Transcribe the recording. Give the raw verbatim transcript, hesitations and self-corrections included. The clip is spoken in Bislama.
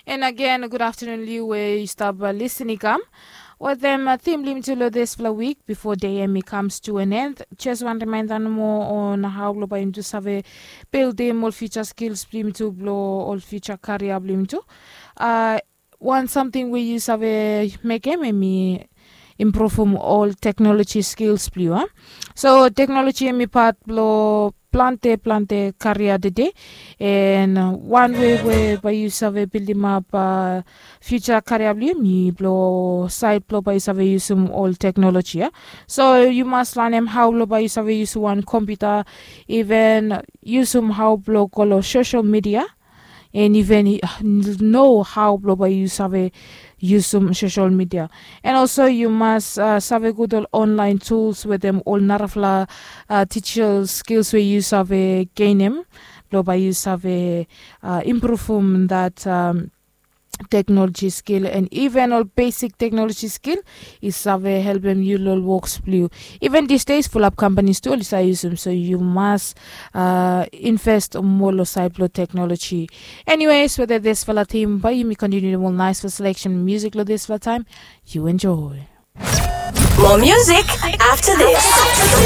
And agen gud aftanun liu we yu stap lisin i kam wetem tim blong yumi tu long dispela wik bifo dei em i kams tu an en. Jes wan rimainda nomo on hau blong bai yumi tu save bildim ol fiuja skils blong yumi tu blong ol fiuja karia blong yumi tu. Wan samting we yu save mekem em i impruvum ol teknoloji skils blong yu a. So teknoloji em i pat blong plante plante karia tede. En wan we we bai yu save bildimap fiuja karia blong yu em i blong sait blong bai yu save yusum ol teknoloji ya. So yu mas lanem hau blong bai yu save yusum wan kompiuta, iven yusum hau blong go long sosel midia, en iven no hau blong bai yu save yusum sosel midia. En olso yu mas save gud ol onlain tuls wetem ol narafala tijal skils we yu save genim blong bai yu save impruvum dat teknoloji skil, en iven ol besik teknoloji skil i save helpem yu long ol woks blong yu. Iven disdes fulap kampanis tu ol i save yusum, so yu mas invest moa long sait blong teknoloji. Eniwes weta disfala tim bai yumi kontiniu long ol naisfala seleksen musik long disfala taim. Yu enjoy. More music after this.